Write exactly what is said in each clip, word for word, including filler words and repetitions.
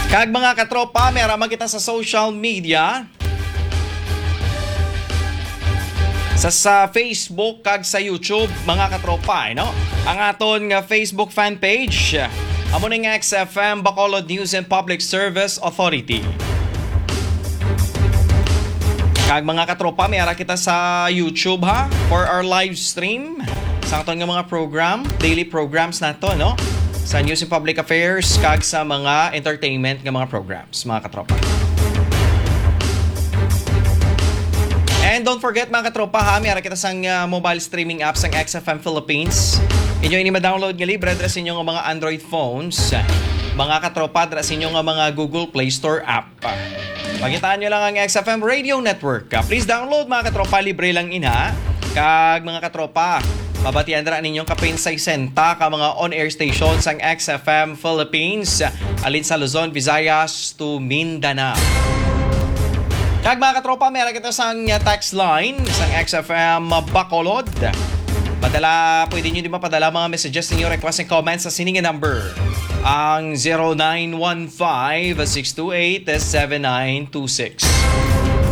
Kag mga katropa, may ara man kita sa social media. Sa, sa Facebook kag sa YouTube, mga katropa, eh, no? Ang aton nga Facebook fan page, amo ning X F M Bacolod News and Public Service Authority. Kag mga katropa, may ara kita sa YouTube, ha, for our live stream sa aton nga mga program, daily programs nato, no? Sa News and Public Affairs kag sa mga entertainment nga mga programs, mga katropa. And don't forget, mga katropa, ha, may ara kita sang, ah, mobile streaming app sang X F M Philippines. Inyo ini ma-download nga libre dira sa inyo nga mga Android phones, mga katropa, dira sa inyo nga mga Google Play Store app. Pangitaan nyo lang ang X F M Radio Network. Ah, please download, mga katropa, libre lang ina. Kag mga katropa, mabatian dira ninyong kapin sesenta ka mga on-air stations ang X F M Philippines, alin sa Luzon, Visayas to Mindanao. Kag mga katropa, may ara kita sang text line sang X F M Bacolod. Padala, pwede nyo di mapadala mga messages ninyo, request and comments sa sini nga number, ang zero nine one five, six two eight, seven nine two six.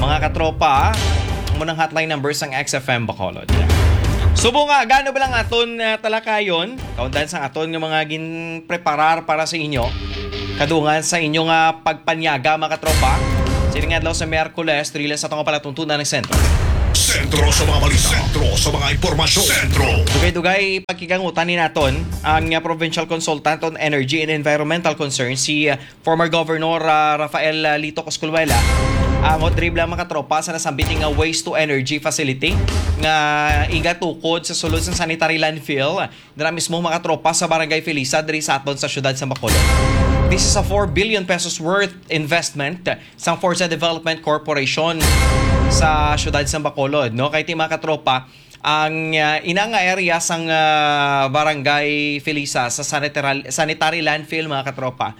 Mga katropa, amo nang hotline number sang X F M Bacolod. Subong nga, gano ba lang aton, ah, talakayon? Kaundan sang aton nga mga ginpreparar para sa inyo. Kadungan sa inyo nga pagpanyaga, mga katropa. Sining adlaw sa Miyerkules, diri lang sa atong palatuntunan ng sentro. Sentro sa mga balita. Sentro sa mga impormasyon. Sentro. Dugay-dugay pagkikangutan ni naton ang, uh, provincial consultant on energy and environmental concerns, si, uh, former Governor, uh, Rafael, uh, Lito Cosculuela. Ang hot dribla, mga katropa, sa nasambit nga waste to energy facility nga igatukod sa sulod sa sanitary landfill dira mismo, mga katropa, sa Barangay Felisa, diri sa aton sa siyudad sa Bacolod. This is a four billion pesos worth investment sang Forza Development Corporation sa siyudad sa Bacolod, no? Kay ti, mga katropa, ang, ah, ina nga area sang, ah, Barangay Felisa sa sanitary, sanitary landfill, mga katropa,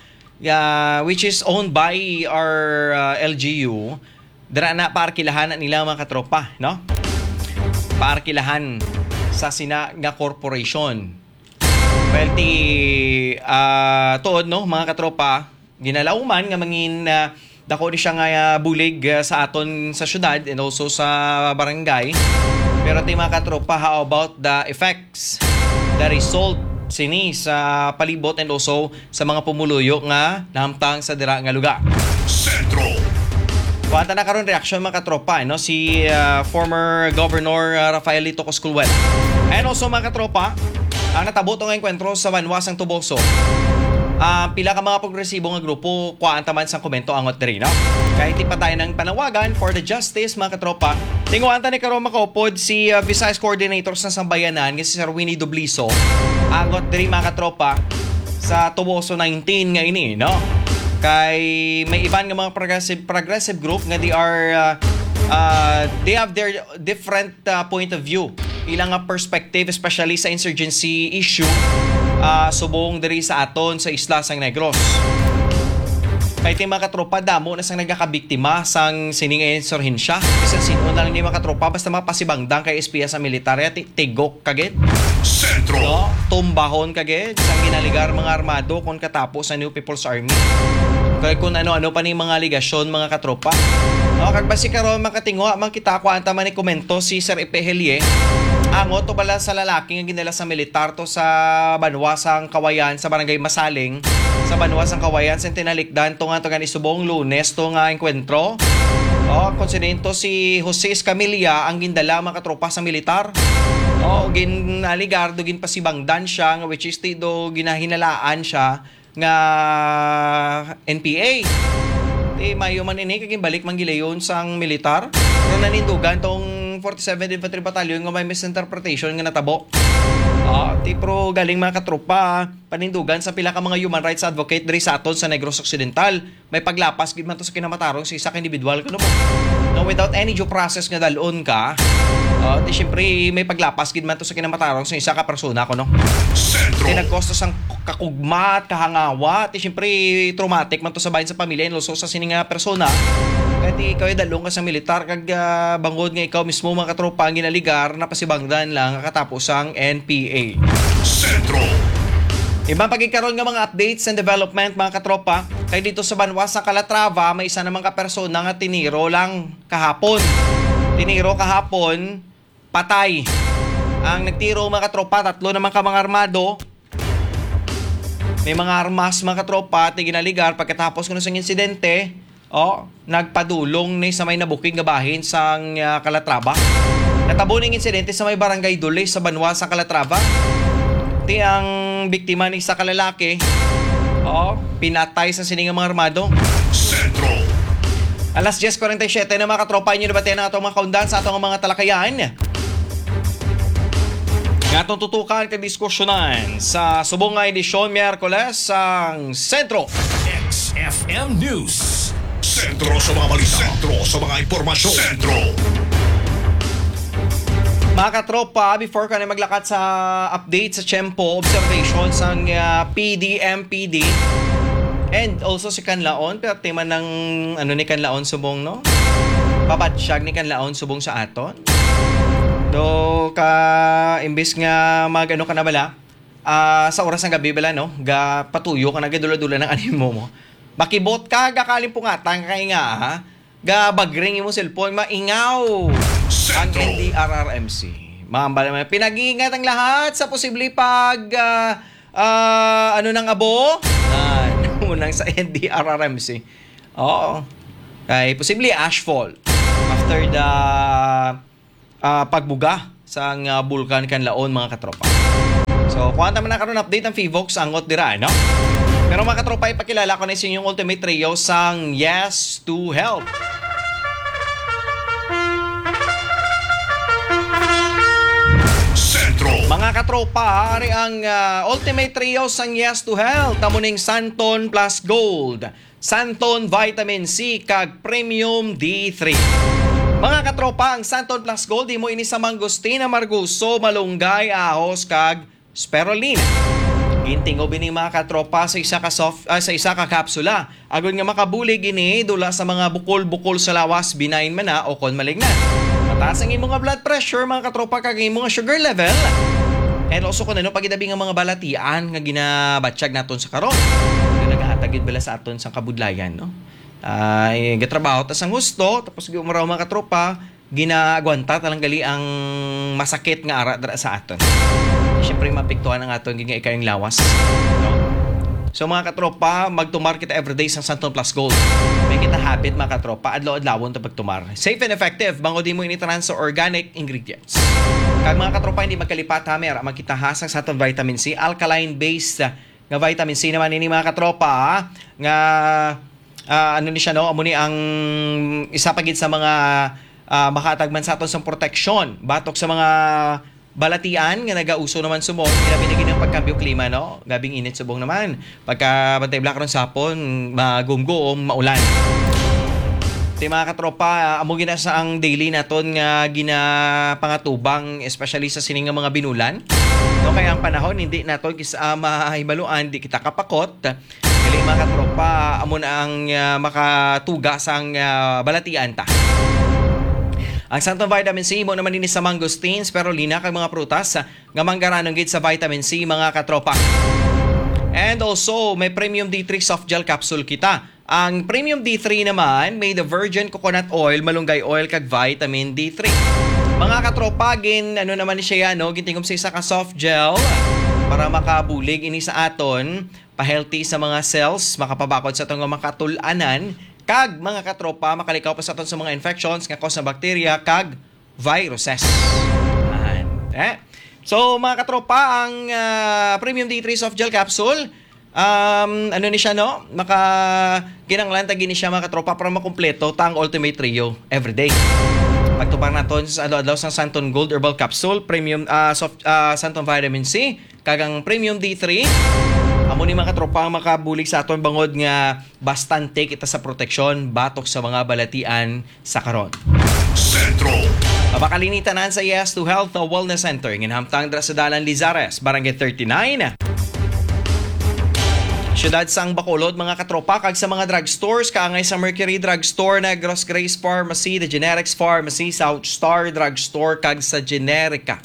ah, which is owned by our, ah, L G U, dira na paarkilahan na nila, mga katropa, no? Paarkilahan sa sina nga corporation. Well, ti, ah, tuod, no, mga katropa, ginalauman nga mangin, ah, dako ni siya nga, ah, bulig, ah, sa aton sa syudad and also sa barangay. Pero ti, mga katropa, how about the effects, the result sini sa palibot and also sa mga pumuluyo nga nahamtang sa dira nga lugar? Sentro. Kuwanta na karon reaksyon, mga katropa, no? Si, ah, former Governor, ah, Rafael Lito Cosculuela. And also, mga katropa, ang natabo to nga engkwentro sa banwa sang Toboso. Ah, pila ka mga progresibo nga grupo, kuwanta man sang komento angot diri, no? Kay ti pa tayo ng panawagan for the justice, mga katropa. Tinguan ta ni karon makaupod si, ah, Visayas Coordinator sa Sambayanan nga si Sir Winnie Dubliso. Angot diri, mga katropa, sa Toboso nineteen nga ini, no? Kay may iban nga mga progressive, progressive group nga they are, ah, ah, they have their different, ah, point of view, ilang nga perspective, especially sa insurgency issue, ah, subong diri sa aton sa isla sang Negros. Kay ti, mga katropa, damo na sang nagakabiktima sang sining insurhensya. Bisan sino na lang ni, mga katropa, basta mapasibangdang kay S P S ang militar, ya ti-, tigok kagid. Sentro. No? Tumbahon kagid sang ginaligar mga armado kon katapo sa New People's Army. Kay kung ano-ano pa ni mga aligasyon, mga katropa. No, kag basi karon makatingwa man kita, kuwanta man ni komento si Sir Epe Helie. Angot to bala sa lalaki nga ginala sa militar to sa banwa sang Kawayan, sa barangay Masaling, sa banwa sang Kawayan, sa tinalikdan to nga to gani subong Lunes to nga engkwentro. Oh, konsidento si Jose Escamilla ang gindala, mga katropa, sa militar. Oh, ginaligar do, ginpasibangdan siya, nga which is ti do ginahinalaan siya nga N P A. Ti mayo man ini kay ginbalik man gilayon sang militar. Pero nanindugan tong forty-seventh Infantry Battalion nga may misinterpretation nga natabo. Ah, ti, pero galing, mga katropa, panindugan sa pila ka mga human rights advocate diri sa aton sa Negros Occidental. May paglapas gid man to sa kinamatarong sa isa ka individual, kuno po. No, without any due process nga dalon ka, ah, ti siyempre may paglapas gid man to sa kinamatarong sa isa ka persona, kuno. Sentro. Ti nagkosto sang kakugmat, kahangawa, ti siyempre traumatic man to sa bahin sa pamilya, and also sa sini nga persona. Kaya ti ikaw ay dalon ka sa militar, kag, ah, bangod nga ikaw mismo, mga katropa, ang ginaligar, napasibangdan lang ang katapos sang N P A. Sentro. Iban pa gid karon nga mga updates and development, mga katropa, kay dito sa banwa sa Calatrava, may isa naman ka persona nga tiniro lang kahapon. Tiniro kahapon, patay. Ang nagtiro, mga katropa, tatlo naman ka mga armado. May mga armas, mga katropa, ti ginaligar pagkatapos kuno sang insidente. Oh, nagpadulong ni sa may nabukid nga bahin sang, ah, Calatrava. Natabo ning insidente sa may Barangay Dule sa banwa sa Calatrava. Ti ang biktima ni isa ka lalaki. Oh, pinatay sa sini nga mga armado. Sentro. Alas diyes kuwarenta y siyete na, mga katropa, inyo nabatian ang atong mga kaundan sa atong mga talakayan. Nga atong tutukan kag diskusyonan sa subong nga edisyon Miyerkules sang Sentro. X F M News. Sentro sa mga balita. Sentro sa mga impormasyon. Sentro. Mga katropa, before ka na maglakat sa update sa tiyempo, observation sang, ah, P D M P D, and also si Kanlaon, pero tema ng, ano, ni Kanlaon subong, no? Pabatsyag ni Kanlaon subong sa aton. Do ka, imbis nga mag, ano ka na bala, ah, sa oras ng gabi bala, no? Ga patuyo ka na, gadula-dula ng animo mo. Makibot ka, gakalimpungatan ka kay nga, ha? Ga bagring imong cellphone, maingaw ang Sentro. N D R R M C. Mambal naman, pinag-iingat ang lahat sa posible pag, ah, ah, ano ng abo? Ah, unang sa N D R R M C. Oo. Kay posible ashfall after the, ah, pagbuga sang, ah, Bulkan Kanlaon, mga katropa. So, kuha naman na karon update ang Fivox angot dira, no? Pero, mga katropa, ipakilala ko na sa inyong Ultimate Trio sang Yes to Health. Sentro. Mga katropa, ari ang, ah, Ultimate Trio sang Yes to Health, amo ning Santon Plus Gold, Santon Vitamin C, kag Premium D three. Mga katropa, ang Santon Plus Gold, imo ini sa mangosteen, amargoso, malunggay, ahos, kag spirulina. Gintingob ini, mga katropa, sa isa ka soft, ah, sa isa ka kapsula. Agod nga makabulig ini dula sa mga bukol-bukol sa lawas, benign man na o kon malignant. Mataas ang imo nga blood pressure, mga katropa, kag imo nga sugar level. And also, kung ano pa gid abi nga mga balatian nga ginabatyag naton sa karon, nga nagahatag gid bala sa aton sang kabudlayan, no? Ay, gatrabaho ta sang husto, tapos giumaraw, mga katropa, ginaagwanta ta lang gali ang masakit nga ara dira sa aton. Siyempre, maapektuhan ang aton gid nga ikayang lawas, no? So, mga katropa, magtumar kita everyday sang Santon Plus Gold. May kita habit, mga katropa, adlaw-adlawon ta pagtumar. Safe and effective, bangod imo ini tanan sa organic ingredients. Kag, mga katropa, hindi magkalipat, ha, may ara man kita, ha, sang Santon Vitamin C, alkaline based, ah, nga vitamin C naman ini, mga katropa, ha, nga, ah, ano ni siya, no? Amo ni ang isa pa gid sa mga, ah, makahatag man sa aton sang proteksyon batok sa mga balatian nga nagauso naman subong, ilabi na gid ang pagkambyo klima, no? Gabing init subong naman. Pagka bantay bala karon sa hapon, magumguom, maulan. Ti, mga katropa, amo gina sa ang daily naton nga ginapangatubang, especially sa sining nga mga binulan. No, kay ang panahon hindi naton kis-, ah, mahibaluan, di kita kapakot. Dili, mga katropa, amo na ang, ah, makatuga sang, ah, balatian ta. Ang Santon Vitamin C, imo naman ini sa mangosteen, spirulina, kag mga prutas, ah, nga manggaranon gid sa vitamin C, mga katropa. And also, may Premium D three soft gel capsule kita. Ang Premium D three naman, made of virgin coconut oil, malunggay oil, kag vitamin D three. Mga katropa, gin, ano naman ni siya, no? Gintingom sa isa ka soft gel para makabulig ini sa aton, pa-healthy sa mga cells, makapabakod sa aton nga makatul-anan, kag, mga katropa, makalikaw pa sa aton sa mga infections nga cause ng bacteria kag viruses. Ayan. Eh? So, mga katropa, ang, ah, Premium D three soft gel capsule, um, ano ni siya, no? Maka-, kinahanglan ta gid ni siya, mga katropa, para makumpleto ta ang Ultimate Trio everyday. Pagtupang naton sa adlaw-adlaw sang Santon Gold Herbal Capsule, Premium, ah, soft, ah, Santon Vitamin C, kag ang Premium D three, amo ni, mga katropa, ang makabulig sa aton bangod nga bastante kita sa proteksyon batok sa mga balatian sa karon. Sentro. Mabakalinita nan sa Yes to Health Wellness Center, ginhamtang dira sa Dalan Lizares, Barangay thirty-nine, Siyudad sang Bacolod, mga katropa, kag sa mga drugstores, kaangay sa Mercury Drugstore, Negros Grace Pharmacy, The Generics Pharmacy, South Star Drugstore, kag sa Generica.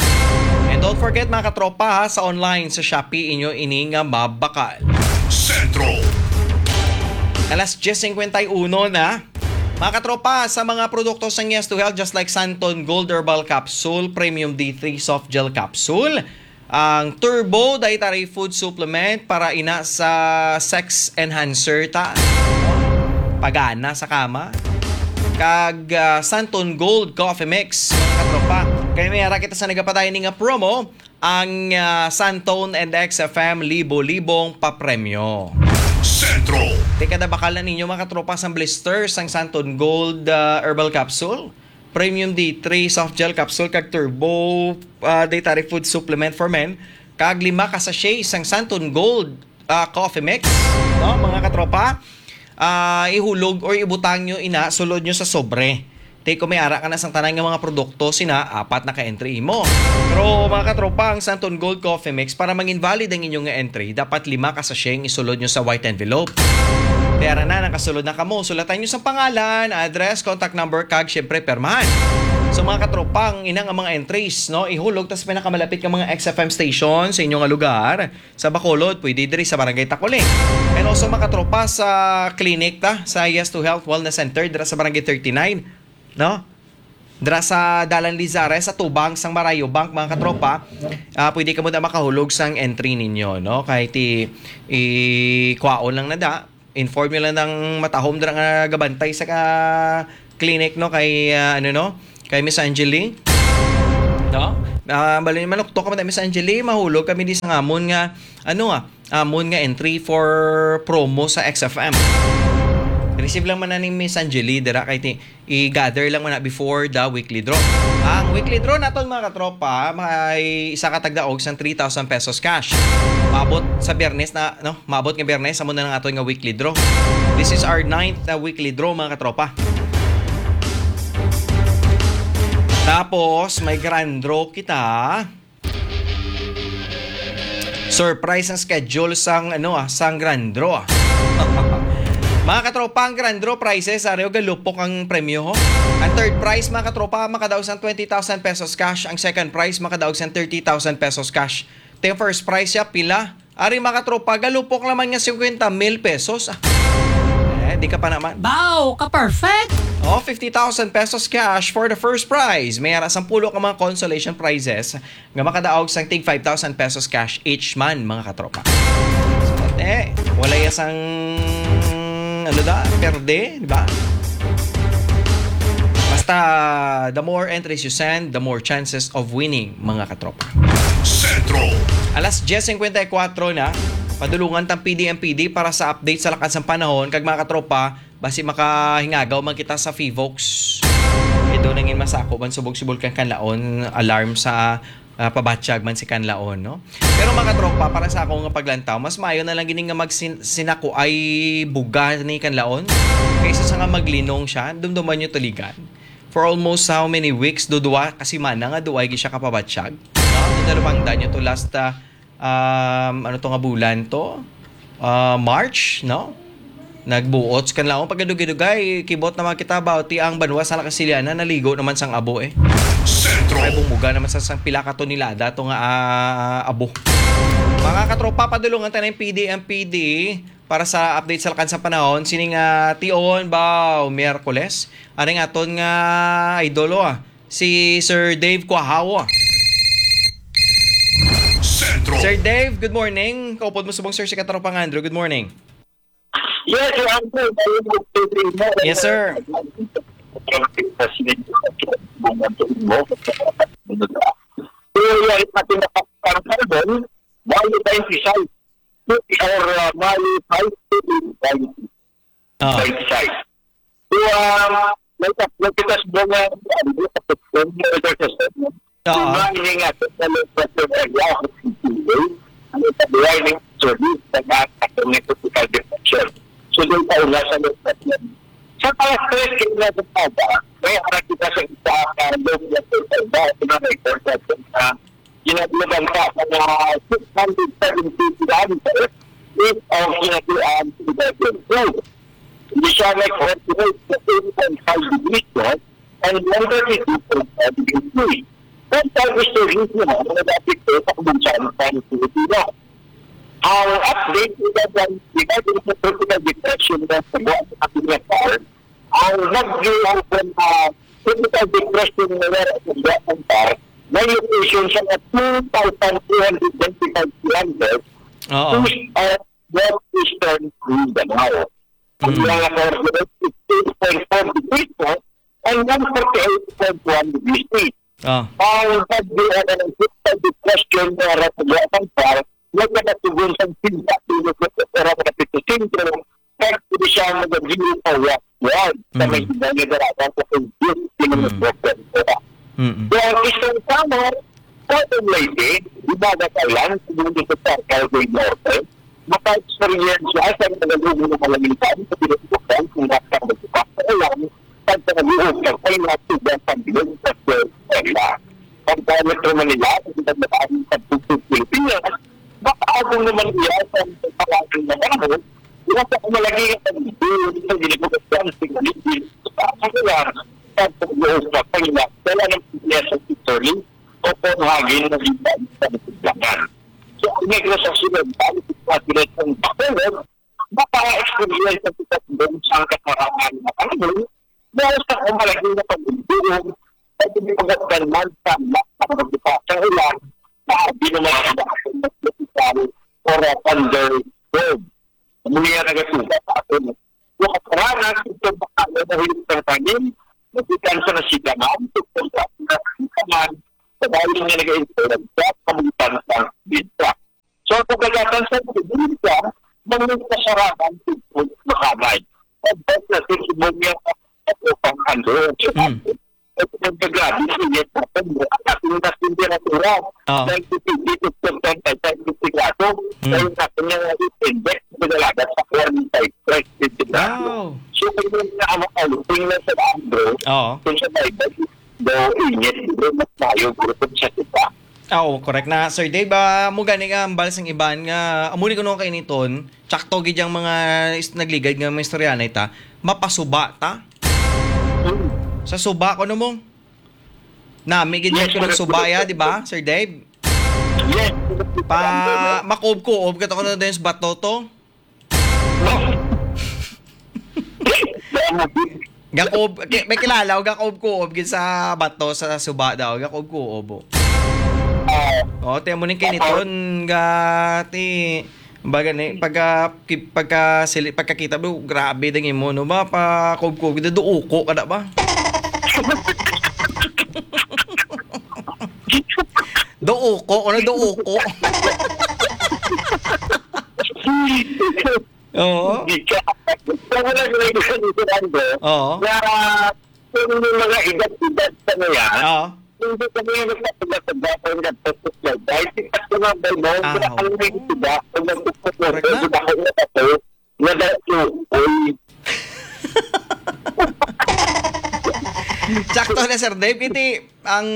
And don't forget, mga katropa, ha, sa online, sa Shopee, inyo ini nga mabakal. Sentro. Alas diyes cincuenta y uno na. Mga katropa, sa mga produkto sa Yes to Health, just like Santon Gold Herbal Capsule, Premium D three Soft Gel Capsule, ang Turbo Dietary Food Supplement para ina sa sex enhancer ta. Pagana sa kama. Kag, ah, Santon Gold Coffee Mix, mga katropa. Kay may ara kita sa nagapadayon ni nga promo, ang, ah, Santon and X F M libo-libong papremyo. Sentro. Tika na bakal na ninyo, mga katropa, sang blister sang Santon Gold, ah, Herbal Capsule, Premium D three Soft Gel Capsule, kag Turbo, ah, Dietary Food Supplement for Men, kag lima ka sachet sang Santon Gold, ah, Coffee Mix, no, mga katropa. Ah, ihulog or ibutang nyo ina, sulod nyo sa sobre. Te, kung may ara ka na sang tanan nga mga produkto, sina, apat na ka entry imo. Pero, mga katropa, ang Santon Gold Coffee Mix, para mangin valid ang inyong nga entry, dapat lima ka sachet ang isulod nyo sa white envelope. Te, ara na, nakasulod na kamo. Sulatan nyo sang pangalan, address, contact number, kag, syempre, permahan. So, mga katropa, ang ina nga mga entries, no, ihulog tas pinakamalapit nga mga X F M station sa inyo nga lugar. Sa Bacolod, pwede diri sa Barangay Tacoling. And also, mga katropa, sa clinic ta, sa Yes to Health Wellness Center, dira sa Barangay thirty-nine, no? Dira sa Dalan Lizares, sa tubang sang Marayo Bank, mga katropa, ah, pwede kamo na makahulog sang entry ninyo, no? Kahit i-, i-, kwaon lang na da, inform nyo lang ng matahom dira nga gabantay sa ka-, clinic, no, kay, ah, ano, no, kay Miss Angeli, no? Ah, bali, manuktok ka man, Miss Angeli, mahulog kami di sa ngamon nga, ano, ah, amon nga entry for promo sa X F M. Receive lang man na ni Miss Angeli dira kay ti-, i-gather lang man na before the weekly draw. Ang weekly draw naton, mga katropa, may isa ka tagdaog sang three thousand pesos cash. Maabot sa Biyernes na, no? Maabot nga Biyernes, amo na lang aton nga weekly draw. This is our ninth na weekly draw, mga katropa. Tapos, may grand draw kita. Surprise ang schedule sang, ano, ah, sang grand draw, ah. Mga katropa, ang grand draw prizes, ari, o, galupok ang premyo, ho. Ang third prize, mga katropa, makadaog sang twenty thousand pesos cash. Ang second prize, makadaog sang thirty thousand pesos cash. Te, first prize siya, pila? Ari, mga katropa, galupok naman nga fifty mil pesos. Ah. Eh, di ka pa naman. Wow, ka-perfect! Oh, fifty thousand pesos cash for the first prize. May ara sampulo ka mga consolation prizes nga makadaog sang tig five thousand pesos cash each man, mga katropa. So, eh, wala ya sang, ano da, perde, di ba? Basta, the more entries you send, the more chances of winning, mga katropa. Sentro. Alas diyes cincuenta y cuatro na, padulungan tang P D M P D para sa update sa lakad sang panahon. Kag, mga katropa, basi makahingagaw man kita sa Fivox. Ito nangin masako man subog si Bulkan Kanlaon, alarm sa, ah, pabatyag man si Kanlaon, no? Pero, mga katropa, para sa ako nga paglantaw, mas maayo na lang gini nga magsin-, sinakuay buga ni Kanlaon kaysa sa nga maglinong siya. Dumduman nyo tuligan. For almost how many weeks, do duwa ka semana nga duway gid siya kapabatyag. No? Nadalupangdan nyo to last, ah, um, ano to nga bulan to? Ah, March, no? Nagbuot sa Kanlaon. Pagkadugay-dugay, kibot naman kita about ti ang banwa sa Lakasiliana, naligo naman sang abo eh. Sentro. Ay, bumuga naman sa sang pila ka tonelada to nga, ah, abo. Mga katropa, padulungan tayo ng P D M P D para sa update sa lakad sa panahon. Sining, ah, tion ba, Miyerkules? Aring aton nga idolo, ah, si Sir Dave Quahawa. Sentro. Sir Dave, good morning. Kaupod mo subong, sir, si Katropang Andrew. Good morning. Yes, sir, Andrew. Yes, sir. Bali twenty-five. Or, uh, bali five, twenty-five. Ah. Right side. So, um, may tat-, may pitas mo nga, ano, sa system, weather system. Oo. Diba, hindi nga, sa low pressure area, ano, sa warning service, sa mga tropical depression. So, doon pa una sa low pressure. Sa mga stress, kaya nga sa Sabah, may harap kita sa isa, sa low pressure area, sa mga record natin sa Ginatulagan sa mga six hundred seventy kilometers east of Ginatulagan, Sibuyan. So, hindi siya nag-originate sa eight point five degrees north and one thirty-two point five degrees east. Kung sa gusto rin mo, mga dati ko sa kumbansya ng Pilipino. Ang update nila ng iba din sa tropical depression na sa buwan sa ating Nepal, ang nagdulog na tropical depression na meron sa buwan ng Par, may location siya na two thousand two hundred twenty-five kilometers Oo. east of northeastern Mindanao. Ang Mm. mga coordinates is eight point four degrees north and one forty-eight point one degrees east. Ah. Ang pagdira ng system depression nga ratugatan pa, may katatugon sa sinta kilometro sa oras sa pito sentro, kag pwede siya magadiyo pa westward sa may Mm. ginadaratan sa Indian Mm. kilometro. Mm-mm. So, ang isang summer, sa Leyte, Himagat Island, Cebu sa Calgary Norte, maka-experience siya sa nagalugo ng kalangitan sa pinagbukan kung nasa magbukas sa ulan, sa pagkaluog ng kailat sa San Miguel sa Puerto Isla. Ang Metro Manila, sa pinagbukan sa Bukid Pilipinas, makaagong naman iya sa pagkakas ng panahon, nasa kumalagi ang pagbukas sa ginagawa sa paligid sa ulan, sa pagbukas sa kailat, dala ng P S at Sterling, o Copenhagen na liban sa Bukidnon. So, ang Negros Occidental, sa Bacolod, maka-experience ang pagkatulog sa kasarangan na panahon, dahil sa kumalagay na pagdulog, sa pagkatulog man sa pagkatulog sa ulan, sa ginawa sa or a thunderstorm. Muli ang nagatuga sa aton. Yung kasaranan, ito baka na nahilip ng tanim, magikan sa nasidangan, ito sa nasidangan, sa bayan nga nag-influence sa kamutan sa bidya. So, ang pagkagatan sa bidya, may kasaranan, ito makanay. Ang best na ito, niya, at upang ano, Mm. At nagkagabi sa init natin, ang ating mas temperatura, Oo. ninety-two dito sa Santa Cruz, Sensigrado, Mm. ay natin yung index na nalagat sa forty-five, twenty Sensigrado. Wow. So, kung yung na ang outing na sa Andro, Oo. kung sa Bible, daw init, bro, mas mayo, bro, kung sa iba. Ah, oo, correct na, Sir Dave. Ah, mo gani nga ang bal sang iban nga, amo ni kuno kay niton, tsakto gid yang mga is-, nagligad nga mga istoryanay ta, mapasuba ta. Mm. Sa suba, kuno mo? Nami gid Yes, yung sir. Suba ya, di ba, Sir Dave? Yes. Pa, makuob-kuob ka to, kuno din sa bato to? No. Gakuob, ki-, may kilala, o gakuob-kuob gid sa bato, sa suba daw, gakuob-kuob, oh. Ah. Oh, ti amo ning kiniton, ga, ti, baga ni, pagka, ki-, pagka sili-, pagkakita mo, grabe dang imo, no ba? Pa, kuob-kuob, gid, duuko ka na ba? Duuko, ano duuko? Oo. Hindi ka. Kung wala ka lang sa Fernando, Oo. na kung may mga edad-edad ka na yan, Oo. hindi ka na yung nagpapagkakagapang nagpapagkakagapang. Dahil sikat ko nga ba, no? Ah, Kaya ang may oo. Edad, kung nagpapagkakagapang, Correct na. Ako na ako, na dahil ko, uy. Sakto na, Sir Dave. Iti ang,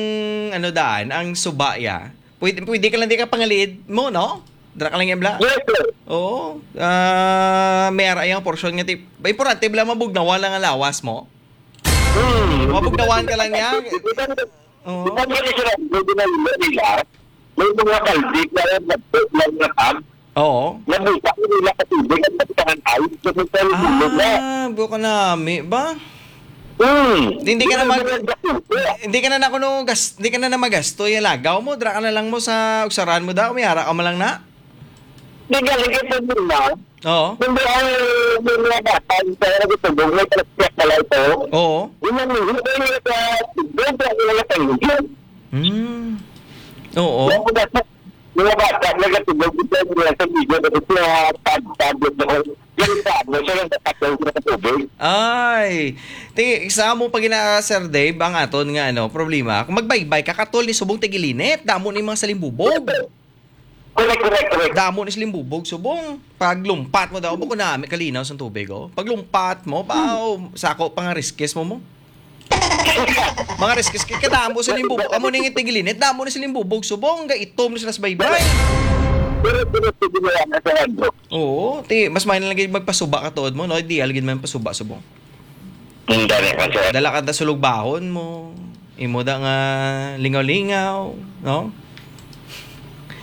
ano, daan, ang suba ya. Pwede, pwede ka lang di ka pangaliid mo, no? Dra ka lang yan, bla. Yes, sir. Oo. Ah, may ara yang portion nga ti-, importante bla mabugnawan lang ang lawas mo. Hmm. Mabugnawan ka lang niya. Oo. Di ba nga sila, pwede na nila nila? May mga kaldi na yan, nagpot lang na tag. Oo. Nabuka ko nila sa tubig at nagtangan ay, kasi sa Ah, na. Buka nami ba? Hmm. Hindi ka na mag-, Hindi na nila gasto. Hindi ka na na kuno gas-, hindi ka na na magasto yung lagaw mo, dra ka na lang mo sa ugsaran mo daw, may ara ka man lang na. Di galing ito din na. Oo. Hindi ang mga bata, yung sa mga gusto, may plastic na lang ito. Oo. Yun ang hindi ko yung sa, doon sa mga tanggal. Hmm. Oo. Yung mga bata, mga bata, nagatulog ito, yung sa video, kasi siya, pag-, pag-, yung sa, ano, siya lang sa patong sa tubig. Ay. Ti, sa mo pag ina, Sir Dave, ang aton nga, ano, problema, kung magbaybay ka, katol ni subong tigilinit, damo ni mga salimbubog. Correct, correct, correct. Damo ni salimbubog, subong. Paglumpat mo daw, bako na, may kalinaw sa tubig, oh. Paglumpat mo, ba, Hmm. oh, sako pa nga riskis mo mo. Mga riskis, kay kadamo sa limbubog. Amo ning tigilinit, damo ni salimbubog, subong, ga itom ni sila sa baybay. Pero, pero, pero, pero, Oo, ti, mas may na lang gid magpasuba ka tuod mo, no? Di, alagid man pasuba, subong. Hindi, sir. Dala ka na sulog bahon mo. Imo da nga lingaw-lingaw, no?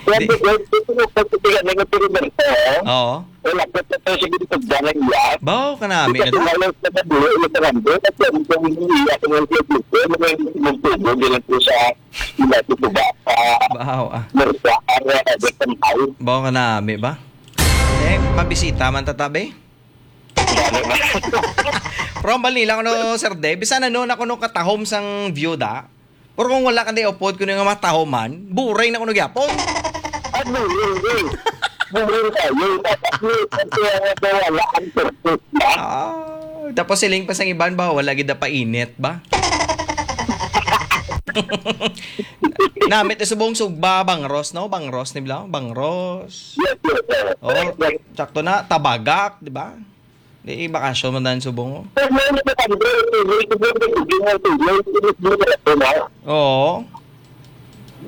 Kaya Di- di ko, di ko magpapatigan ng eksperimento, eh. Oo. Wala ko pa to, sige, pagdalan niya. Baw, kanami na Kasi da. Wala sa kabuhi, yung karambo, kasi ang isang hindi ako ng pagbuto, mga hindi magtubo, ganun po sa, hindi po ba, sa Baw, ah. Mersa, ang, uh, Baw, kanami ba? Eh, mabisita man tatabi? Pero ang bali lang, ano, Sir Dave, bisan ano na kuno katahom sang view da. Pero kung wala ka di upod kuno nga matahoman, buray na kuno gyapon. Ah, buray, eh. Buray tayo. Dapat may pagkaya na wala ang purpose ba? Ah, tapos siling pa sang iban ba, wala gid na painit ba? Namit na subong sugba, bangros, no? Bangros ni Blau, bangros. Yes, yes, sir. Oh, Yes, yes. Sakto na, tabagak, di ba? Di, bakasyon man dan subong, oh. Pero may nagtatanda, eh, may nagtatanda, eh, may nagtatanda, eh, may nagtatanda, eh. Oo.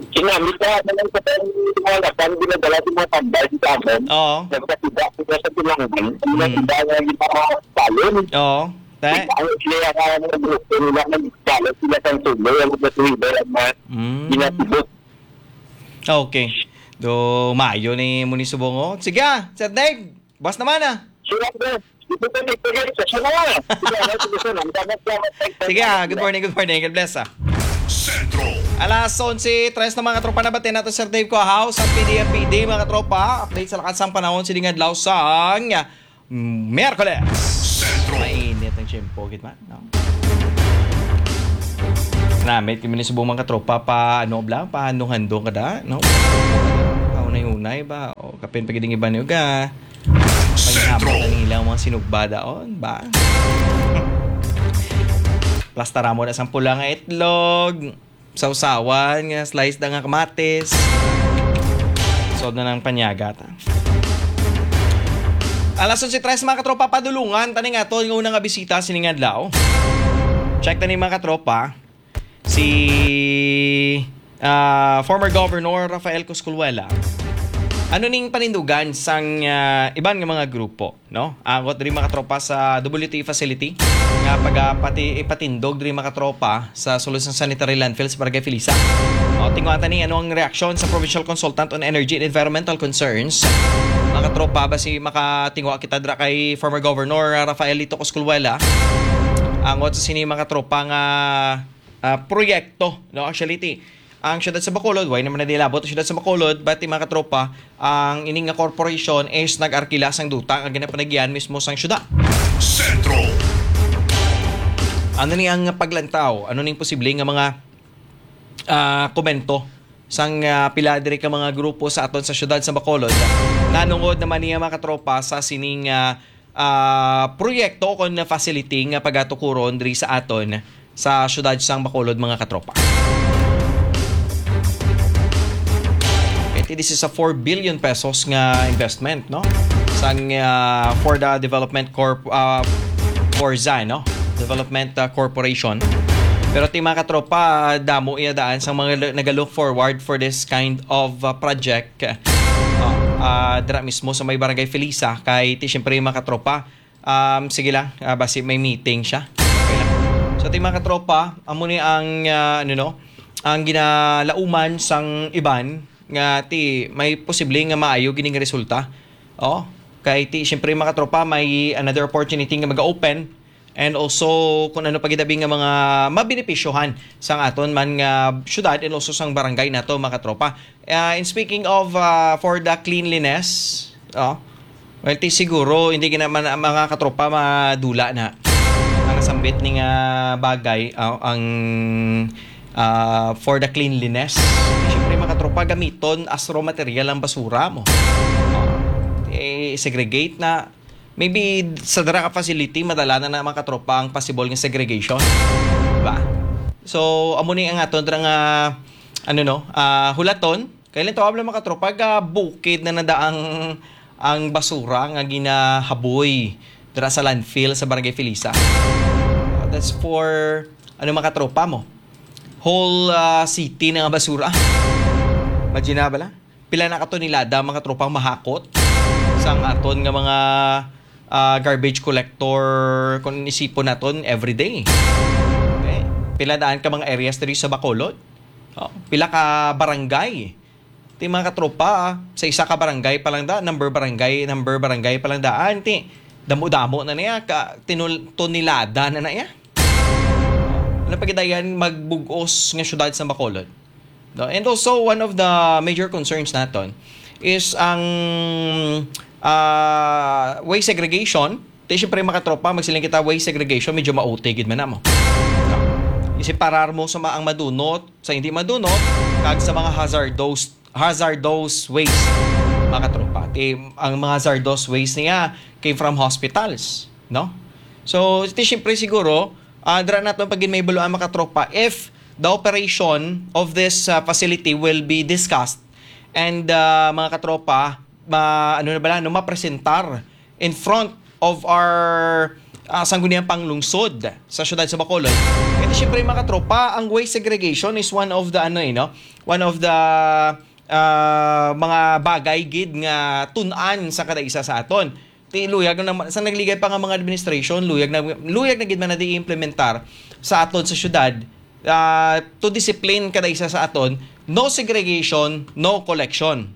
Kinamit na naman sa mga laban, ginadala sa mga tambay sa amin. Oo. Nagkasida sila sa tinanggan. Ang mga Mm. tindahan na hindi pa makasalon. Oo. Te? Ang sila ang mga grupo nila, nagdala sila sa tuloy, ang mga tuloy, ang mga Mm. ginatubos. Okay. Do, maayo ni mo ni subong, oh. Sige, ah, Sir Dave. Buwas naman, ah. Sure, sir. Ito po, ito po, sir. Sure, sir. Sige, ah, good morning, good morning. God bless, ah. Sentro. Alas onse tres na, mga tropa, nabati nato, Sir Dave Coahaw, sa P D F P D, mga tropa. Update sa lakas sang panahon, sining adlaw sang Miyerkules. Sentro. Mainit ang tiyempo, gid man, no? Namit kami ni subong, mga tropa, pa, ano, bla, pa handong-handong kada, no? Pa unay-unay ba? O, kapin pa gid ang iba niyo ga. Sentro. Panihapon na nila ang mga sinugba daon, ba? Plastara mo na sang pula nga itlog. Sawsawan nga slice da nga kamatis. Sod na ng panyaga ta. Alas onse tres, mga katropa, padulungan tani nga aton nga una nga bisita sining adlaw. Check tani, mga katropa, si, ah, former Governor Rafael Cosculuela. Ano ning panindugan sang, ah, iban nga mga grupo, no? Angot diri, mga katropa, sa W T E facility nga pagapati-, ipatindog diri, mga katropa, sa sulod sang sanitary landfill sa Barangay Felisa. O, tinguha ta ni ano ang reaksyon sa Provincial Consultant on Energy and Environmental Concerns. Mga katropa, basi makatinguha kita dira kay former Governor, ah, Rafael Lito Cosculuela. Angot sa sini, mga katropa, nga, ah, proyekto, no? Actually, ti, ang siyudad sa Bacolod, way naman na dilabot ang siyudad sa Bacolod, but ti, mga katropa, ang ini nga corporation is nag-arkila sang duta nga ginapanagyan mismo sang siyudad. Sentro. Ano ni ang paglantaw? Ano ning posible nga mga, ah, komento sang, ah, pila diri ka mga grupo sa aton sa siyudad sa Bacolod? Nanungod naman niya, mga katropa, sa sining, ah, ah, proyekto o kon facility nga pagatukuron diri sa aton sa siyudad sang Bacolod, mga katropa. Okay, this is a four billion pesos nga investment, no? Sang, ah, for the development corp-, ah, for Zan, no? Development, ah, Corporation. Pero ti, mga katropa, damo iya daan sang mga l-, naga-look forward for this kind of, ah, project. Ah, ah, dira mismo sa may Barangay Felisa, kay ti, siyempre, mga katropa, um, sige lang, ah, basi may meeting siya. Okay lang. So, ti, mga katropa, amo ni ang, ah, ano, no, ang ginalauman sang iban nga ti may posible nga maayo gining resulta. Oh, kay ti, siyempre, mga katropa, may another opportunity nga mag-open. And also, kung ano pa gid abi nga mga mabenepisyohan sang aton man nga syudad and also sang barangay nato, mga katropa. Ah, in speaking of, ah, for the cleanliness, oh, well, ti siguro, hindi gina-, man-, mga katropa, madula na ang nasambit ni nga bagay, ah, ang, ah, for the cleanliness. Siyempre, mga katropa, gamiton as raw material ang basura mo. Oh, eh, segregate na. Maybe sa dara ka facility, madala na na, mga katropa, ang possible nga segregation. Diba? So, amo ni ang aton dira nga, ano, no, ah, hulaton. Kay lintawab lang, mga katropa, ga bukid na nada ang, ang basura nga ginahaboy dira sa landfill sa Barangay Felisa. That's for, ano, mga katropa mo? Whole, ah, city na nga basura. Imagine na bala? Pila na ka tonelada, mga tropang mahakot, sang aton nga mga, ah, garbage collector, kung isipon naton everyday. Okay? Pila daan ka mga areas diri sa Bacolod? Oh, pila ka barangay? Ti mga katropa, sa isa ka barangay pa lang da, number barangay, number barangay pa lang daan, ti damo-damo na niya, ka tinul- tonelada na na iya. Ano pa gidayan magbugos nga syudad sa Bacolod? No? And also, one of the major concerns naton is ang ah, waste segregation. Ti syempre, mga katropa, magsiling kita, waste segregation, medyo mauti gid man namo. No? Iseparar mo sa ma- ang madunot, sa hindi madunot, kag sa mga hazardous hazardous waste, mga katropa. Ti, ang mga hazardous waste niya came from hospitals, no? So, ti syempre siguro, ah, dira naton pagin may baluan, mga katropa, if the operation of this ah, facility will be discussed and ah, mga katropa, ma, ano na bala, no, mapresentar in front of our ah, sangguniang panglungsod sa siyudad sa Bacolod. Kaya syempre, mga katropa, ang waste segregation is one of the, ano eh, no? One of the ah, mga bagay gid nga tun-an sa kada isa sa aton. Ti luyag na naman, sa nagligay pa nga mga administration, luyag na, luyag na gid man na di implementar sa aton sa syudad, ah, to discipline kada isa sa aton, no segregation, no collection.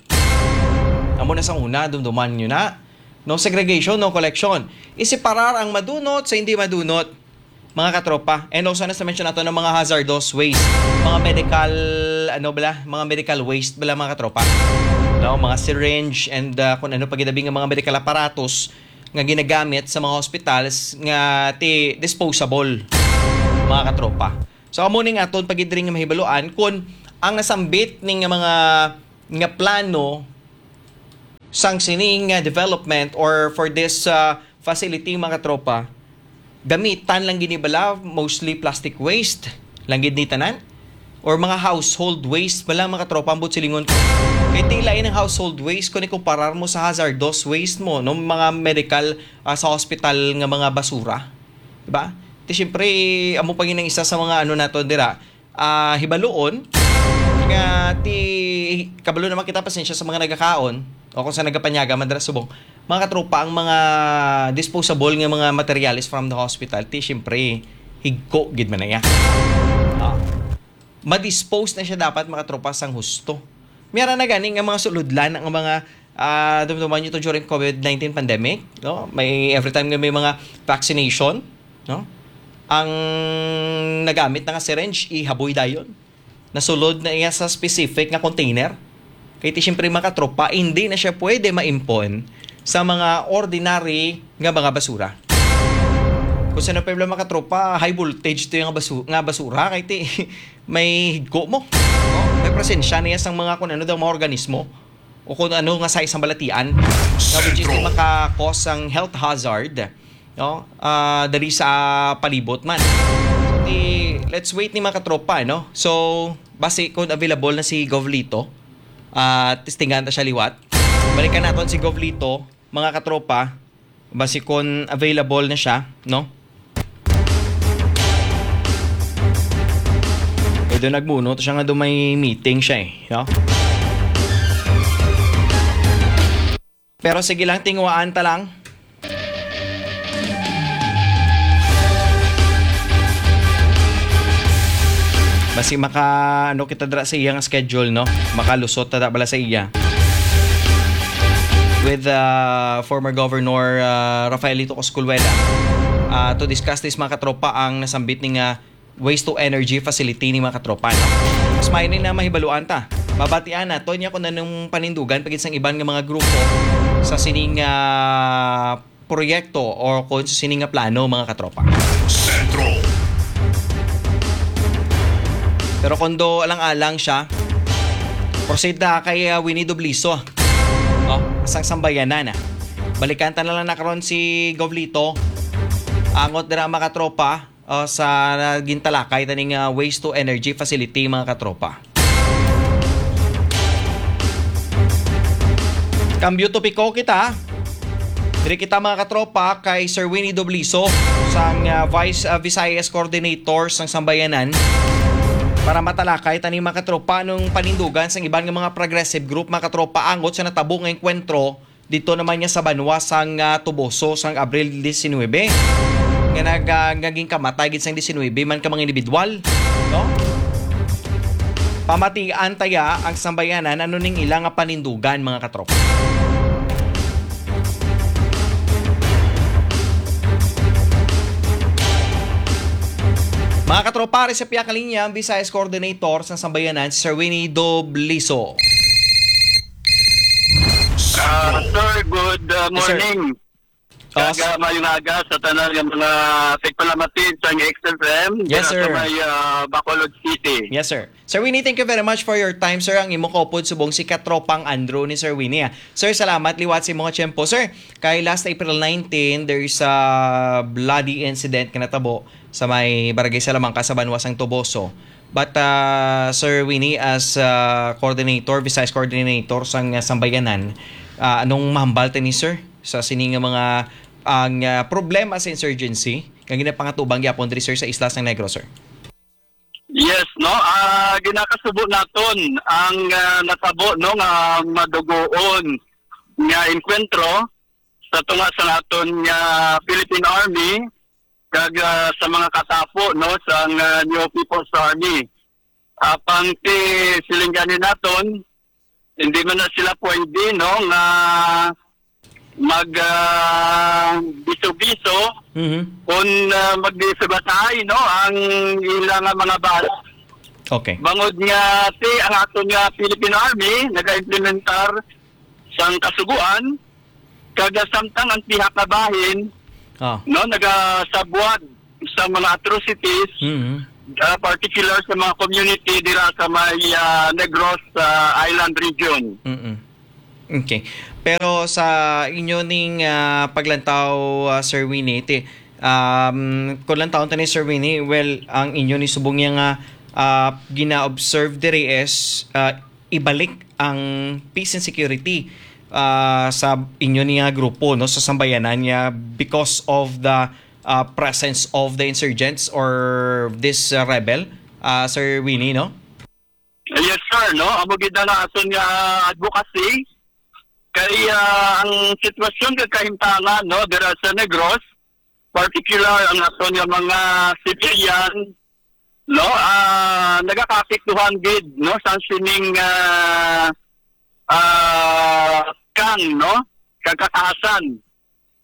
Amo na sa una, dumduman nyo na. No segregation, no collection. Iseparar ang madunot sa hindi madunot, mga katropa. And also, na sa mention nato ng mga hazardous waste, mga medical, ano bala, mga medical waste bala, mga katropa. No, mga syringe and ah, kung ano pa ginabi nga mga medical apparatus nga ginagamit sa mga hospitals nga ti disposable, mga katropa. So, amo ning aton pagidring nga mahibaluan kung ang nasambit ning mga nga plano sang sining nga development or for this ah, facility, mga katropa, gamitan lang gini bala mostly plastic waste lang gid ni tanan, or mga household waste bala, mga katropa, ang buot silingon ko. Kay ti lain ang household waste kung ikumparar mo sa hazardous waste mo, no, mga medical ah, sa hospital nga mga basura, di ba? Ti syempre, amo pa gid ang isa sa mga ano nato dira, ah, hibaluon nga ti kabalo naman kita, pasensya sa mga nagakaon o kung sa nagapanyaga man dira subong, mga katropa, ang mga disposable nga mga materials from the hospital, ti syempre, higko gid man na iya. Ah, madispose na siya dapat, mga katropa, sang husto. Miyara na gani nga mga sulodlan ang mga ah, dumduman nyo to during covid nineteen pandemic, no? May every time nga may mga vaccination, no? Ang nagamit na nga syringe, ihaboy dayon. Nasulod na iya sa specific nga container. Kay ti siyempre, mga katropa, hindi na siya pwede maimpon sa mga ordinary nga mga basura. Kung sino pa yung mga katropa, high voltage to yung basu- nga basura. Kay ti may higko mo. No? May presensya niya sa mga kung ano daw mga organismo o kung ano nga size ang balatian, nga which is Sentro. Maka-cause ang health hazard, no? Ah, dali sa palibot man. So, di, let's wait ni mga katropa, no? So, basi kung available na si Govlito, ah, testingan ta siya liwat. Balikan naton si Govlito, mga katropa, basi kung available na siya, no? Pwede nagmuno to siya nga do may meeting siya eh, no? Pero sige lang, tinguhaan ta lang. Basi maka, ano, kita dira sa iyang schedule, no? Makalusot ta da bala sa iya with uh, former Governor uh, Rafaelito Coscolwela uh, to discuss this, mga katropa, ang nasambit ni nga waste to energy facility ni mga katropa, no? Mas maayo ni na mahibaluan ta. Mabatian nato niya kung anong panindugan pagid sang iban nga mga grupo sa sining ah, proyekto o kung sa sining nga plano, mga katropa. Sentro. Pero kung do alang-alang siya, proceed na kay ah, Winnie Dubliso. Oh, sang sambayanan na. Balikan ta na lang na karon si Govlito. Angot dira, mga katropa, ah, sa gintalakay taning ah, waste to energy facility, mga katropa. Cambio topiko kita. Diri kita, mga katropa, kay Sir Winnie Dobliso, sang ah, Vice ah, Visayas Coordinator sang Sambayanan, para matalakay tani, mga katropa, nung panindugan sang iban nga mga progressive group, mga katropa, angot sa natabo nga engkwentro dito naman niya sa banwa sang ah, Toboso sang Abril diecinuebe, nga nag-, ah, nga ginkamatay gid sang diecinuebe man ka mga individual, no? Pamatian taya ang sambayanan ano ning ila nga panindugan, mga katropa. Mga katropa, ari sa pihak nga linya ang Visayas Coordinator sa Sambayanan, si Sir Winnie Dobliso. Ah, sir, good uh, Yes, sir. morning. Oh, Kaga mayong aga sa tanan nga mga tigpalamati sa X F M Yes, dira sir. sa may ah, Bacolod City. Yes, sir. Sir Winnie, thank you very much for your time, sir. Ang imo kaupod subong si Katropang Andrew ni Sir Winnie, ah. Sir, salamat liwat sa imong tiyempo. Sir, kay last April nineteen, there is a bloody incident nga natabo sa may Barangay Salamanca sa Banwa sang Toboso. But uh, Sir Winnie, as uh, coordinator, Visayas coordinator sang uh, Sambayanan, uh, anong mahambal tani, sir, sa sini nga mga ang uh, problema sa insurgency nga ginapangatubang gyapon diri, sir, sa isla sang Negros, sir? Yes, no? Ah, ginakasubo naton ang ah, natabo, no, nga madugoon nga enkwentro sa tunga sa aton nga Philippine Army kag ah, sa mga katapo, no, sa nga New People's Army. Apang ti siling gani naton, hindi man na sila pwede, no, nga mag ah, biso-biso Mhm. kung ah, magdisugatahay, no, ang ila nga mga bala. Okay. Bangod nga ti ang aton nga Philippine Army nagaimplementar sang kasugoan, kag samtang ang pihak nga bahin, Ah. no, nagasabwag sa mga atrocities, Mhm. ah, particular sa mga community dira sa may ah, Negros ah, Island region. Mm-mm. Okay. Pero sa inyo ning ah, paglantaw, ah, Sir Winnie, ti, um, kung lantawon ta ni Sir Winnie, well, ang inyo ni subong niya nga ah, gina-observe diri is ah, ibalik ang peace and security ah, sa inyo niya grupo, no, sa sambayanan niya because of the ah, presence of the insurgents or this ah, rebel, ah, Sir Winnie, no? Yes, sir, no? Amo gid na aton nga advocacy kay ah, ang sitwasyon kag kahimtangan, no, dira sa Negros, particular ang aton nga mga civilian, no, ah, nagakaapektuhan gid, no, sa sining ah, ah, kang, no, kagkatasan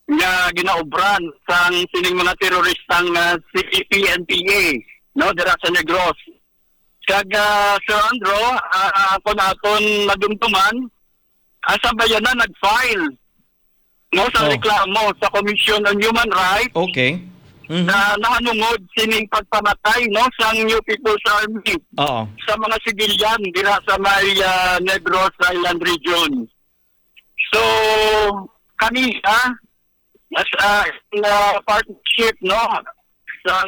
nga ginaobran sang sining mga teroristang ah, C P N P A, no, dira sa Negros. Kag ah, Sir Andrew, ah, kung aton madumduman, ang sambayanan nag-file, no, sa Oh. reklamo sa Commission on Human Rights Okay. Mhm. na nahanungod sining pagpamatay, no, sang New People's Army Oo. sa mga sibilyan dira sa may ah, Negros Island region. So, kami, ah, as ah, in ah, partnership, no, sa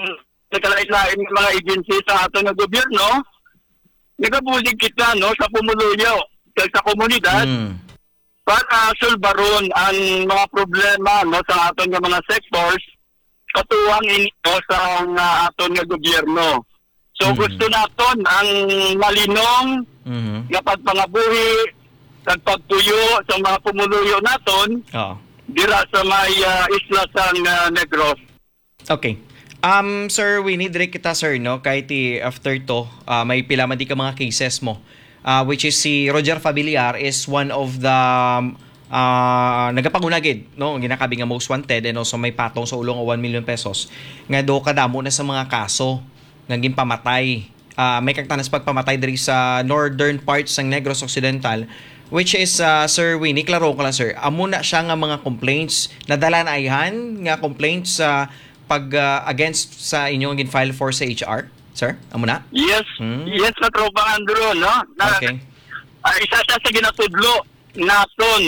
nagkalain-lain nga mga agency sa aton nga gobyerno, nagabulig kita, no, sa pumuluyo kag sa komunidad Mm. para sulbaron ang mga problema, no, sa aton nga mga sectors katuwang ini, no, sa nga aton nga gobyerno. So Mm. gusto naton ang malinong Mhm. nga pagpangabuhi kag pagpuyo sa mga pumuluyo naton Oo. dira sa may ah, isla sang ah, Negros. Okay. Um, Sir Winnie, diri kita, sir, no? Kay ti after to, ah, may pila man di ka mga cases mo. Ah, which is si Roger Fabiliar is one of the ah, nagapanguna gid, no? Ginakabi nga most wanted and also may patong sa ulo nga one million pesos nga do kadamo na sa mga kaso nga ginpamatay. Ah, may kagtanas pagpamatay diri sa northern part sang Negros Occidental, which is, ah, Sir Winnie, klaro ko lang, sir. Amo na siya nga mga complaints, nadala na ayhan nga complaints sa pag ah, against sa inyong gin-file for sa H R, sir? Amo na? Yes, Hmm. yes, sa Tropang Andrew, no? Na, Okay. ah, isa siya sa ginatudlo naton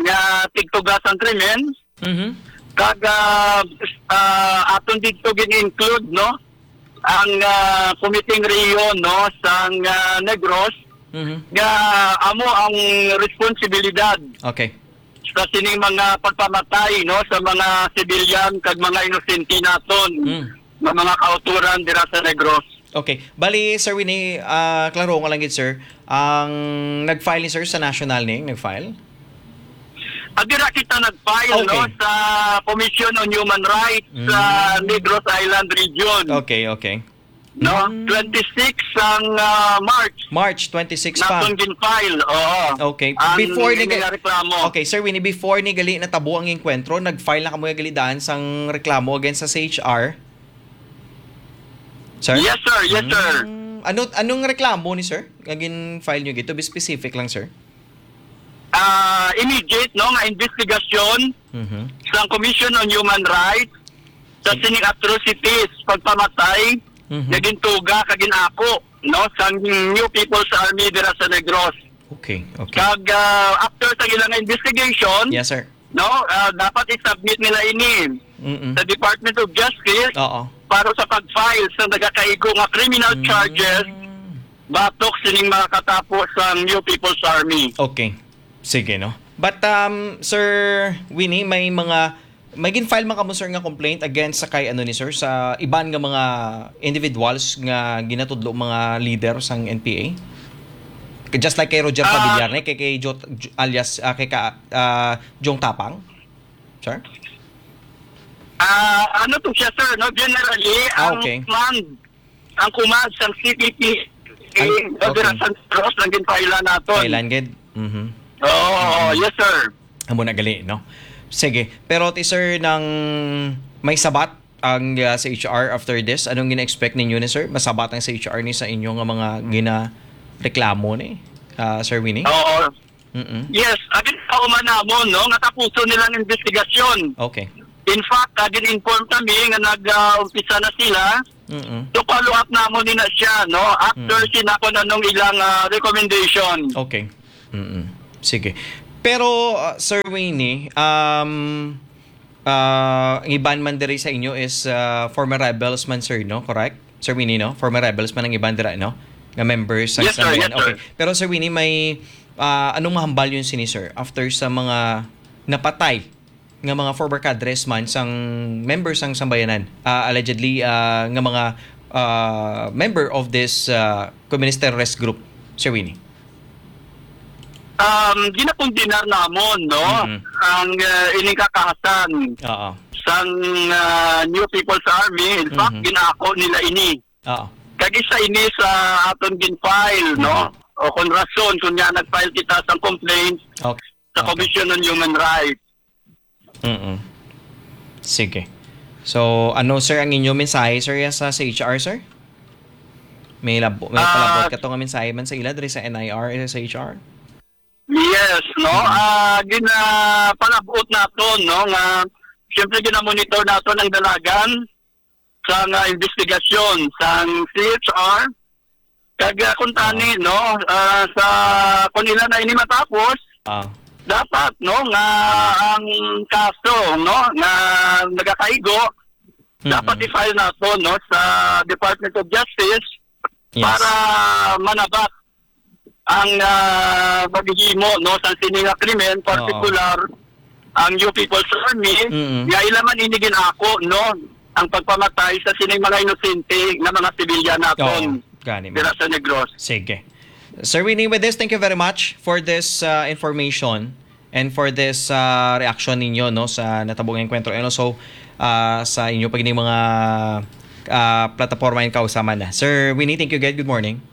nga tigtugasan krimen, Mhm. kag ah, ah, aton dito gin-include, no, ang ah, Committee Rio, no, sang ah, Negros, Mhm. nga amo ang responsibilidad Okay. sa sining mga pagpamatay, no, sa mga sibilyan kag mga inosente naton Mm. nga mga kauturan dira sa Negros. Okay. Bali, Sir Winnie, ah, klaro nga lang gid, sir. Ang nag-file ni sir sa national ni, nag-file? Adira kita nag-file, no, Okay. sa Commission on Human Rights sa Mm. Negros Island Region. Okay, okay. No? Mm. Twenty-six ang, ah, March. March twenty-six pa. Natong gin-file, oo. Okay. Ang Before ni ga- inireklamo. Okay, Sir Winnie, before ni gali natabo ang enkwentro, nag-file na kamo gali daan sang reklamo against sa C H R? Sir? Yes, sir. Yes, sir. Mm. Ano, anong reklamo ni sir? Nga gin-file nyo gito? Be specific lang, sir. Ah, immediate, no, nga investigasyon Mhm. sa Commission on Human Rights sa Sige. sining atrocities, pagpamatay, Mhm. nga gintuga kag ginako, no, sa New People's Army dira sa Negros. Okay, okay. Kag, ah, after sa ilang investigation, Yes, sir. no, ah, dapat i-submit nila ini Mm-mm. sa Department of Justice Oo. para sa pag-file sa nagakaigo nga criminal Mm. charges batok sining mga katapo sa New People's Army. Okay. Sige, no? But, um, Sir Winnie, may mga, may gin-file man kamo, sir, nga complaint against sa kay, ano ni sir, sa iban nga mga individuals nga ginatudlo mga leader sang N P A? Just like kay Roger Ah. Padillar, ne? Kay, kay Jo-, Jo-, alias, ah, kay ka, ah, Jong Tapang? Sir? Ah, ano to siya, sir, no? Generally, Ah, ang okay. command, ang command sang C P P, Ay, eh, okay. San Ross, ang ginpailan naton. Kailan gid? Mhm. Oo, Mhm. yes, sir. Amo na gali, no? Sige. Pero ti, sir, nang may sabat ang, ah, sa H R after this, anong gina-expect ninyo ni, sir? Masabat ang sa H R ni sa inyo nga mga ginareklamo ni, ah, Sir Winnie? Oo. Mm-mm. Yes, agin sa uma namon, no, nga tapuson nilang investigasyon. Okay. In fact, agin inform kami nga nag, ah, umpisa na sila. Mm-mm. So, follow up namon ni na siya, no, after Mm. sinakon anong ilang, ah, recommendation. Okay. Mm-mm. Sige. Pero, ah, Sir Winnie, um, ah, ang iban man diri sa inyo is, ah, former rebels man, sir, no? Correct? Sir Winnie, no? Former rebels man ang iban dira, no? Nga members sa Yes, sir. Yes, Sambayanan. Okay. sir. Pero, Sir Winnie, may, ah, anong mahambal yun sini, sir? After sa mga napatay nga mga former cadres man sang members sang Sambayanan, ah, allegedly, ah, nga mga, ah, member of this, ah, Communist terrorist group, Sir Winnie? Um, ginakondenar namon, no? Mm. Ang, uh, ining kakahasan Oo. sang, uh, New People's Army. In fact, Mhm. ginako nila ini. Oo. Kag isa ini sa aton gin-file, no? Mhm. O kung rason, kung nga nag-file kita sang complaint Okay. sa Okay. Commission on Human Rights. Mm-mm. Sige. So, ano, sir, ang inyo mensahe, sir, ya sa, sa H R, sir? May labo, may Ah, palabot ka to nga mensahe man sa ila diri sa N I R, sa H R? Yes, no? Mm. Ah, gina-, palabot naton, no, nga siyempre gina-monitor naton ang dalagan sa nga investigasyon sang C H R. Kag, ah, kung tani, Ah. no, ah, sa, kung ila na ini matapos, Ah. dapat, no, nga ang kaso, no, nga nagakaigo, dapat Mm. i-file nato, no, sa Department of Justice Yes. para manabat ang, ah, paghihimo, no, sa sini nga krimen, Oo. partikular ang New People's Army, Mm. nga ila man ini gin-ako, no, ang pagpamatay sa sining mga inosente nga mga sibilyan naton Oo, gani man. dira sa Negros. Sige. Sir Winnie, with this, thank you very much for this, uh, information and for this, uh, reaction ninyo, no, sa natabo nga enkwentro and also, uh, sa inyo pa gini mga, uh, plataporma and kausaman na. Sir Winnie, thank you again. Good morning.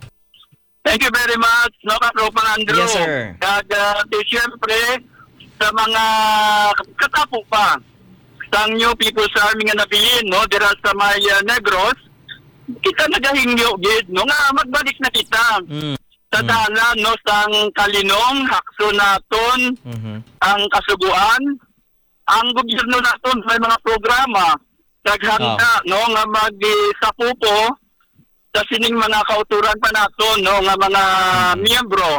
Thank you very much, no, Katropang Andrew. Yes, sir. Kag, ah, di, siyempre, sa mga katapo pa sang New People's Army nga nabilin, no, dira sa may, ah, Negros, kita nagahingyo gid, no, nga magbalik na kita Mm. sa Mm. dalan, no, sang kalinong, hakso naton Mhm. ang kasugoan. Ang gobyerno naton may mga programa, naghanda, Oh. no, nga mag-, eh, sapupo sa sining mga kauturan pa naton, no, nga mga Mm. miyembro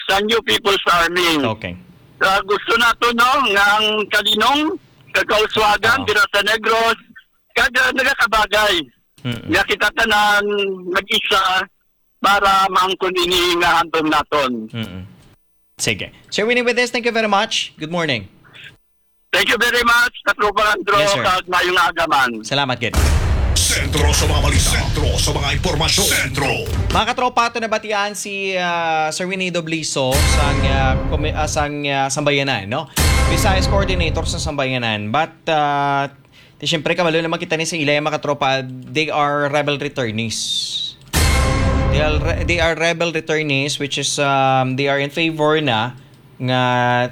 sa New People's Army. Okay. Ah, gusto nato, no, nga ang kalinong, kag kauswagan, Oh. dira sa Negros, kag, ah, nagakabagay. Mm-mm. Nga kita tanan mag-isa para maangkon ini nga handom naton. Mm-mm. Sige. Sir Winnie, with this, thank you very much. Good morning. Thank you very much, Katropang Andrew, Yes, sir. kag maayong aga man. Salamat, gid. Sa Sentro sa mga balita. Sentro sa mga impormasyon. Sentro. Mga katropa, ato nabatian si, ah, Sir Winnie Dobliso sang, ah, komi-, ah, sang, ah, Sambayanan, no? Visayas Coordinator sa Sambayanan. But, ah, ti siyempre, kabalo naman kita ni sa ila, mga katropa, they are rebel returnees. They are, re-, they are rebel returnees, which is, um, they are in favor na nga,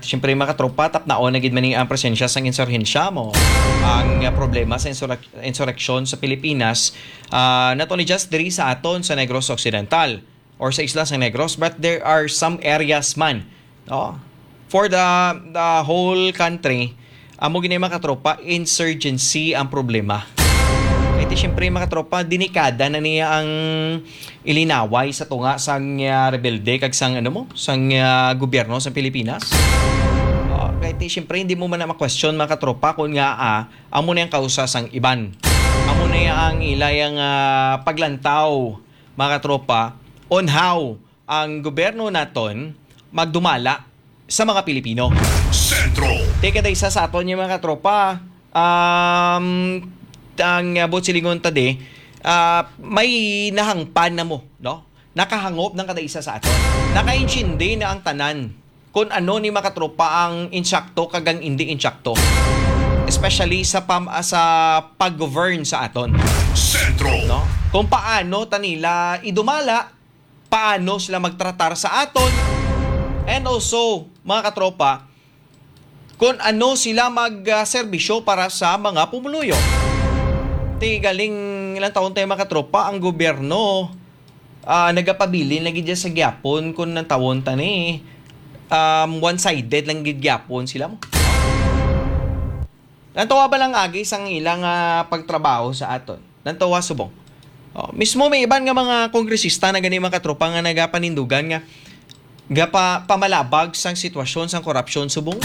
siyempre, mga katropa, tapnaon na gid man ni ang presensya sang insurhensya mo. Ang, ah, problema sa insurrec-, insurreksyon sa Pilipinas, ah, not only just diri sa aton sa Negros Occidental or sa isla sa Negros, but there are some areas man, no? For the, the whole country, amo gini, mga katropa, insurgency ang problema. Kay ti, siyempre, mga katropa, delikada na niya ang ilinaway sa tunga sang, ah, rebelde kag sang, ano mo, sang, ah, gobyerno sa Pilipinas. Ah, kay ti, siyempre, hindi mo man na ma-question, mga katropa, kung nga, ah, amo na ang kausa sang iban. Amo na ang ila yang, ah, paglantaw, mga katropa, on how ang gobyerno naton magdumala sa mga Pilipino. Sentro. Ti kada isa sa aton, yung mga katropa, um, ang, uh, buot silingon ta di, ah, may nahangpan na mo, no? Nakahangop ng kada isa sa aton. Nakaintindi na ang tanan kung ano ni, mga katropa, ang insakto kag ang hindi insakto. Especially sa pam-, ah, sa pag-govern sa aton. Sentro. No? Kung paano ta nila idumala, paano sila magtratar sa aton, and also, mga katropa, kung ano sila mag, ah, serbisyo para sa mga pumuluyo. Ti galing ilang taon tayo, mga katropa, ang gobyerno, ah, nagapabilin lagi dyan sa gyapon kung nang tawon ta ni, um, one-sided lang gid gyapon sila mo. Nantawa ba lang agi sang ilang, ah, pagtrabaho sa aton? Nantawa subong. Oh, mismo may iban nga mga kongresista na gani, mga katropa, nga nagapanindugan nga gapa-, pamalabag sang sitwasyon sang korupsyon subong.